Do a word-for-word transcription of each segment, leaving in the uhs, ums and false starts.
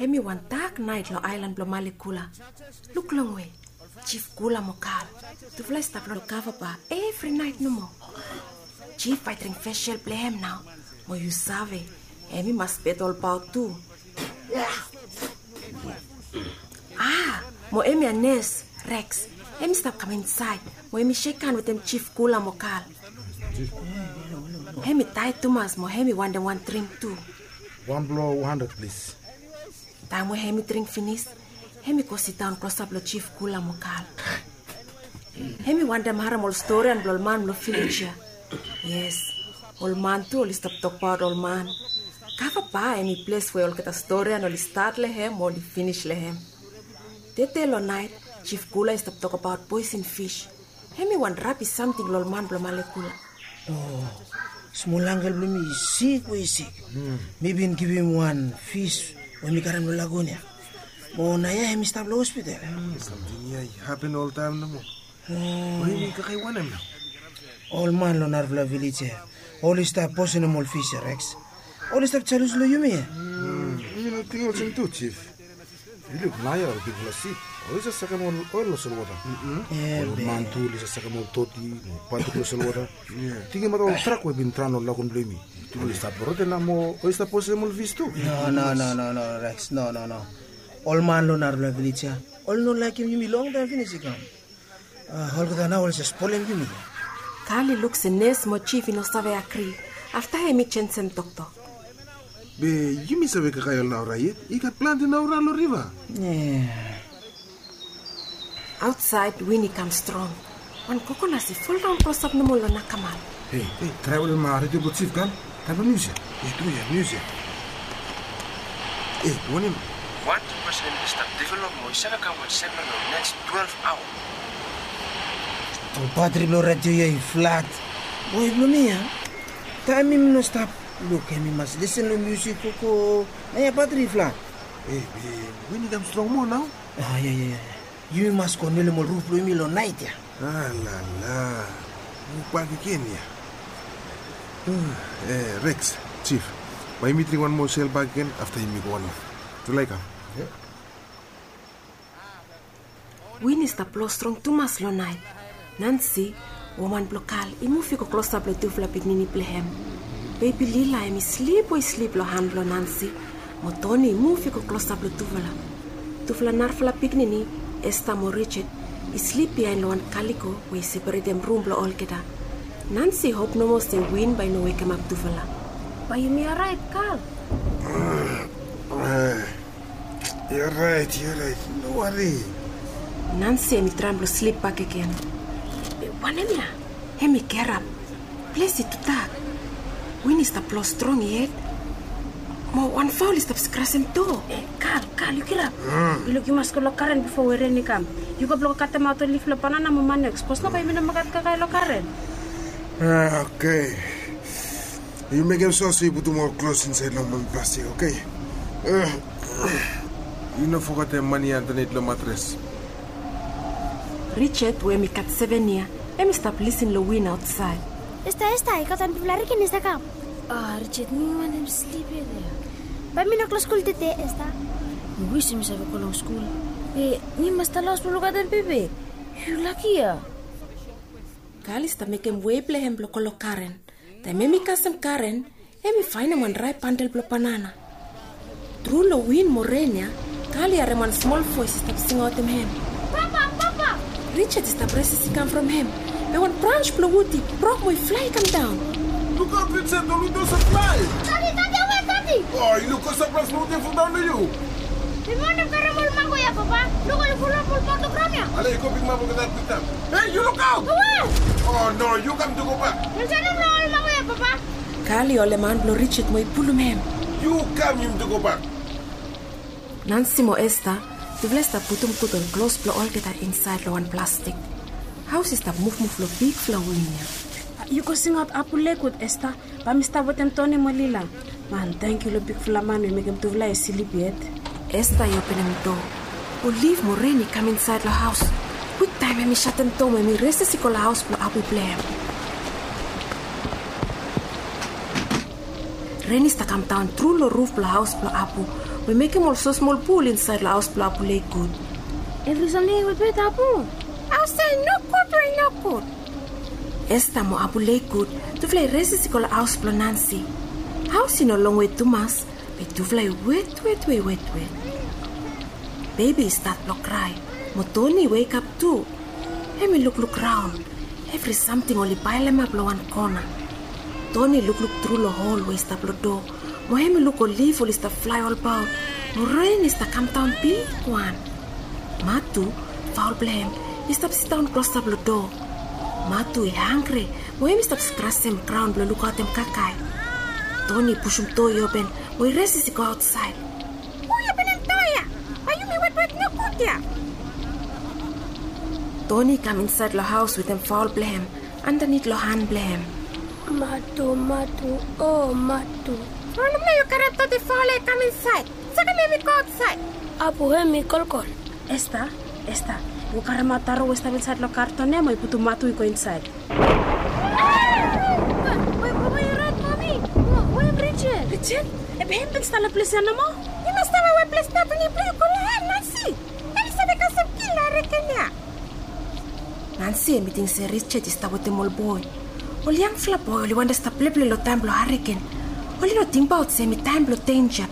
Hemi wan dak naet lo aelan blo Malekula. Luk longwe. Jif Kula mo Kal, tufala i stap lo kava ba evri naet nomo. Jif bae i dring fesel blo hem nao, mo yu save, hemi mas bet olbaot tu. A, mo hemia nes, Reks, hemi stap kam insaed, mo hemi sekan wetem Jif Kula mo Kal. Hemi taed tumas mo hemi wantem wan dring tu. Wan blo wan handred, plis. Taem we hemi dring finis, hemi go sidaon klosap lo Jif Kula mo Kal. Hemi wantem harem ol storian blo ol man blo vilej ya. Yes, ol man tu oli stap tokbaot ol man. Kava ba hemi ples we olgeta storian oli stat lo hem mo oli finis lo hem. Tede lo naet, Jif Kula i stap tokbaot poesen fis. Hemi wan rabis samting lo ol man blo Malekula. O, smol angkel blo mi i sik we i sik. Mi bin givim wan fis we mi karem lo lagun ya. Mo naoia hemi stap lo hospital. Samting ya i hapen oltaem nomo. O, hemi kakae wanem nao? Ol man lo narafala vilej ya oli stap poisonem ol fis ya, Reks. Oli stap jalus lo yumi ya. Mi no ting olsem tu, Jif. Yu luk naoia ol bigfala sip oli save sakem ol oel lo solwota. Ol man tu oli save sakem ol doti mo batuk lo solwota. Tingim baot ol drak we bin draon ol lagun blo yumi. Oli stap rot nao mo oli stap poisonem ol fis tu. No, no, no, no, no, Reks, no, no, no. Ol man lo narafala vilej ya oli no laekem yumi longtaem finis i kam. A, olgeta nao oli save spolem yumi. Kal i luk se nes mo Jif i no save agri. Afta hemi jenisim toktok. Be yumi save kakae ol naora yet. I gat plante naora lo riva. Aotsaed win i kam strong. Wan kokonas i foldaon klosap nomo lo nakamal. Hei, hei, traem olem redio blo Jif, Kal. Taem blo nius ya. Hei, tru ya, nius ya. Hei, wanem? Wan depreson i stap develop mo i save kam wan sevren lo neks twelef aoa. Ol batri blo redio ya i flat. Boe blo mi ya, taem yumi no stap luk, yumi mas lisen lo musik o go. Naoia batri i flat. Hei, be win i kam strong moa nao. A, ya, ya, ya. Yumi mas go nolem ol ruf blo yumi lo naet ya. Alala. Yu bakegen ya. E, Reks, Jif, bae yumi dring wan moa sel bakegen afta yumi go wan off. Yu laik kam? Win i stap blo strong tumas lo naet. Nansi, woman blo Kal, i muv i go klosap lo tufala pikinini blo hem. Bebi Lila hemi slip we i slip lo han blo Nansi, mo Toni i muv i go klosap lo tufala. Tufala narafala pikinini, Esta mo Richard, i slip biaen lo wan kaliko we i separetem rum blo olgeta. Nansi i hop nomo se win bae i no wekemap tufala. Bae yumi oraet, Kal? Yu oraet, yu oraet, no wari. Nansi hemi traem blo slip bakegen. Be wanem ya? Hemi gerap. Ples i tudak. Win i stap blo strong yet. Mo wan faol i stap skrasem doa. E, Kal, Kal, yu kirap. Yu luk, yu mas go lo garen bifo we ren i kam. Yu go blo katemaot ol lif lo banana mo manio, sapos no bae yumi no mekem kakae lo garen. A, oke. Yu mekem so se yu putum ol klos insaed lo wan plastik, oke? Yu no fogetem mane ya andanit lo matres. Richard we hemi gat seven yia, hemi stap lisin lo win aotsaed. Esta, Esta, i gat wan bigfala hariken i stap kam. A, Richard, mi wantem slip ya. Bae mi no go lo skul tede, Esta. Mi wis yumi save go lo skul. Be mi mas stap lo haos blo lukaotem bebe. Yu laki ya. Kal i stap mekem wei blo hem blo go lo garen. Taem hemi kasem garen, hemi faenem wan drae bandel blo banana. Tru lo win mo ren ya, Kal i harem wan smol voes i stap singaotem hem. Papa, papa! Richard i stap resis i kam from hem. Be wan braons blo wud i brok mo i flae i kam daon. Lukaot, Richard, ol wud i save flae! Dadi, dadi, awe, dadi! O, yu no gat saplaes blo wud i foldaon lo yu? Mi wantem karem ol mango ya, papa. Lukaot, ol fulap ol bak lo graon ya. Ale, yu go pikimap olgeta kwiktaem. Hei, yu lukaot! Awe! O no, yu kam tu gobak. Ol sanem lo ol mango ya, papa. Kal i holem han blo Richard mo i pulum hem. Yu kam, yumi tu gobak. Nansi mo Esta, tufala i stap putum gud ol klos blo olgeta insaed lo wan plastik. Haos i stap muvmuv lo bigfala win ya. Yu go singaot Apu Lek gud, Esta. Bae mi stap wetem Toni mo Lila. Man, tangkiu lo bigfala man we i mekem tufala i slip yet. Esta i openem doa. Ol lif mo ren i kam insaed lo haos. Kwiktaem hemi satem doa mo hemi resis i go lo haos blo Apu blo hem. Ren i stap kamdaon tru long ruf blong haos blong Apu, we mekem ol smosmol pul insaed long haos blong Apu Lekut. Evri samting i wetwet, Apu. Haos ya i nogud we i nogud. Esta mo Apu Lekut, tufala i resis i go long haos blong Nansi. Haos i no longwe tumas, be tufala i wetwet we i wetwet. Bebi i stat blong krae, mo Toni i wekap tu. Hem i lukluk raon. Evri samting oli paelemap long wan kona. Toni i lukluk tru long hol we i stap long doa, mo hem i luk ol lif oli stap flae olbaot, mo ren i stap kamdaon bigwan. Matu, faol blong hem, i stap sidaon klosap long doa. Matu i hanggri, mo hem i stap skrasem graon blong lukaotem kakae. Toni i pusum doa i open, mo i resis i go aotsaed. Hu i openem doa ya? Bae yumi wetwet nogud ya. Toni i kam insaed long haos wetem faol blong hem andanit long han blong hem. Matu, Matu, o Matu. Wanem nao yu karem doti faol ya i kam insaed? Sakem hem i go aotsaed. Apu, hem i kolkol. Esta, Esta, yu karemaot taro we i stap insaed long karton ya mo yu putum Matu i go insaed. Bae, bae, bae, yu rait, Mami. Mo, we hem Richard? Richard? Be hem i bin stap long ples ya nomo. Yu mas stap long wan ples nao, bae yu go long hem, Nansi. Hem i save kasem kil long hareken ya. Nansi hem i ting se Richard i stap wetem ol boe. Ol yangfala boe oli wantem stap pleple long taem blong hareken. Oli no tingbaot se hem i taem blong denja.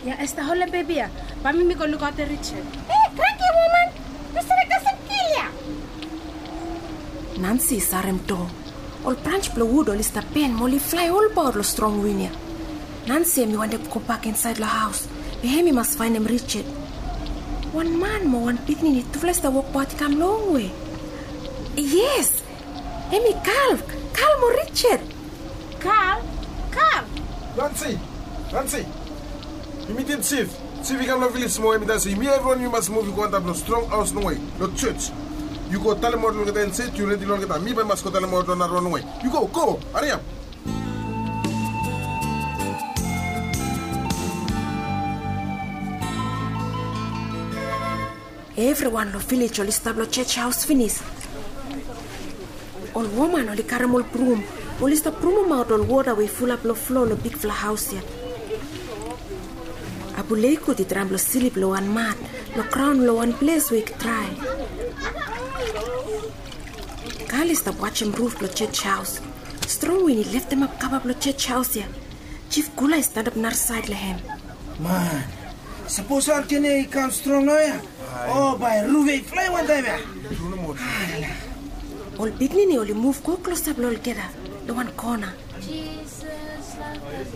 Ya, Esta, holem bebi ya. Bae mi go lukaotem Richard. E, kranki woman, yu save kasem kil ya. Nansi i sarem doa. Ol brans blong wud oli stap ben mo oli flae olbaot long strong win ya. Nansi hem i wantem gobak insaed long haos, be hem i mas faenem Richard. Wan man mo wan pikinini tufala i stap wokbaot i kam longwe. Yes, hem i Kal, Kal mo Richard. Kal, Kal. Nansi, Nansi. Yu mitim jif. Jif i kam long vilej mo hem i talem se yumi evriwan yumi mas muv i go antap long strong haos longwe long jos. Yu go talemaot long olgeta insaed yu redi long olgeta. Mi bae mi mas go talemaot long narawan longwe. Yu go, go, hariap. Evriwan long vilej oli stap long jos haos finis. Ol woman oli karem ol brum, oli stap brumomaot ol wota we i fulap long flo long bigfala haos ya. Apu Lekut i traem blong slip long wan mat long graon long wan ples we i drae. Kal i stap wajem ruf blong jos haos. Strong win i leftemap kava blong jos haos ya. Jif Kula i stanap narasaed long hem. Man, sapos hareken ya i kam strong naoia, o bae ruf ya i flae wantaem ya. Ol pikinini oli muv go klosap long olgeta long wan kona.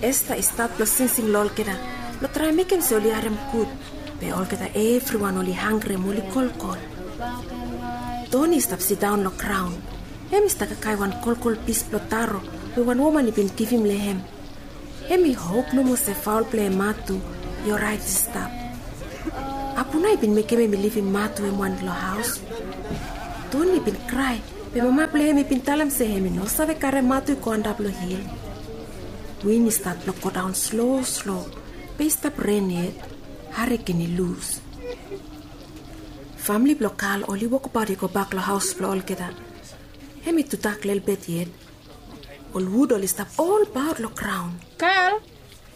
Esta i stat blong singsing long olgeta blong traem mekem se oli harem gud. Be olgeta evriwan oli hanggri mo oli kolkol. Toni i stap sidaon long graon. Hem i stap kakae wan kolkol pis blong taro we wan woman i bin givim long hem. Hem i hop nomo se faol blong hem Matu i oraet i stap. Apu nao i bin mekem hem i livim Matu hem wan long haos. Toni i bin krae, be mama blong hem i bin talem se hem i no save karem Matu i go antap long hil. Win i stat blong godaon slo slo, be i stap ren yet. Hareken i lus. Famle blong Kal oli wokbaot i gobak long haos blong olgeta. Hem i tudak lelebet yet. Ol wud oli stap olbaot long graon. Kal,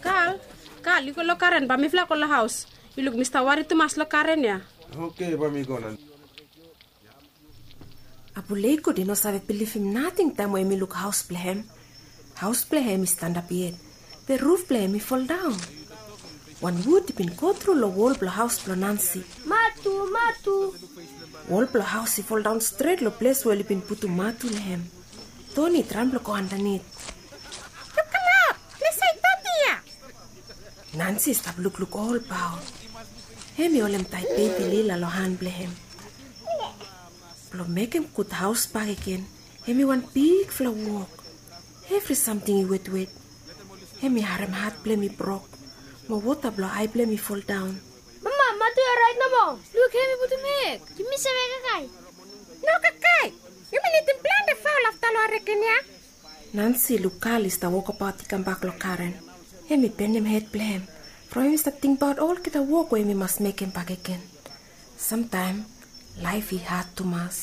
Kal, Kal, yu go long garen, bae mifala go long haos. Yu luk mi stap wari tumas long garen ya. Oke, bae mi go nao. Apu Lekut i no save bilivim nating taem we hem i luk haos blong hem. Haos blong hem i stanap yet. Be ruf blong hem i foldaon. Wan wud i bin gotru long wol blong haos blong Nansi. Matu, Matu. Wol blong haos i foldaon stret long ples we oli bin putum Matu long hem. Toni i traem blong go andanit. Lukaot, ples ya i doti ya. Nansi i stap lukluk olbaot. Hem i holem taet bebi Lila long han blong hem. Blong mekem gud haos bakegen, hem i wan bigfala wok. Evri samting i wetwet. Hem i harem hat blong hem i brok, mo wota blong ae blong hem i foldaon. Mama, Matu i oraet nomo. Luk, hem i putum eg. Yumi save kakae. No kakae. Yumi nidim plante faol afta long hareken ya. Nansi i luk Kal i stap wokbaot i kambak long garen. Hem i benem hed blong hem from hem i stap tingbaot olgeta wok we hem i mas mekem bakegen. Samtaem laef i had tumas.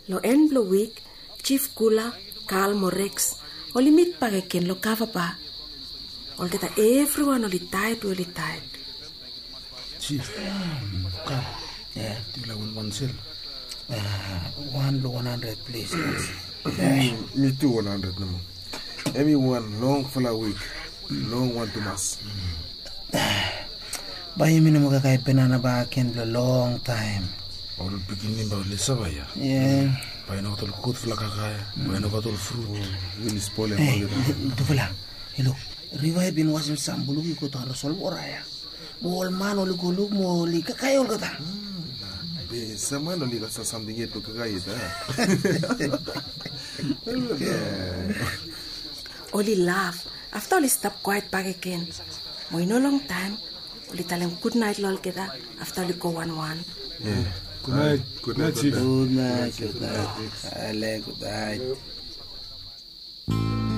Long en blong wik, Jif Kula, Kal mo Reks oli mit bakegen long kava ba. Olgeta evriwan oli taet we oli taet. Jif, kam. Yufala win wan sel. Wan long wan handred plis. Mi tu wan handred nomo. Hemi wan longfala wik. Long wan tumas. Bae yumi no moa kakae banana bakegen blong longtaem. Ol pikinini bae oli sava ia. Bae i no gat ol gudfala kakae. Bae i no gat ol frut. Wili spolem olgeta. Tufala, yu luk, riva i bin wasim sam buluk i go daon long solvora ia. Mo ol man oli go luk mo oli kakae olgeta. Be sam man oli gat sam samting yet blong kakae yet a. Oli laf. Afta oli stap kwaet bakegen. Mo i no longtaem oli talem gudnaet long olgeta. Afta oli go wanwan. Gudnaet. Gudnaet, jif. Gudnaet, gudnaet. Ale, gudnaet.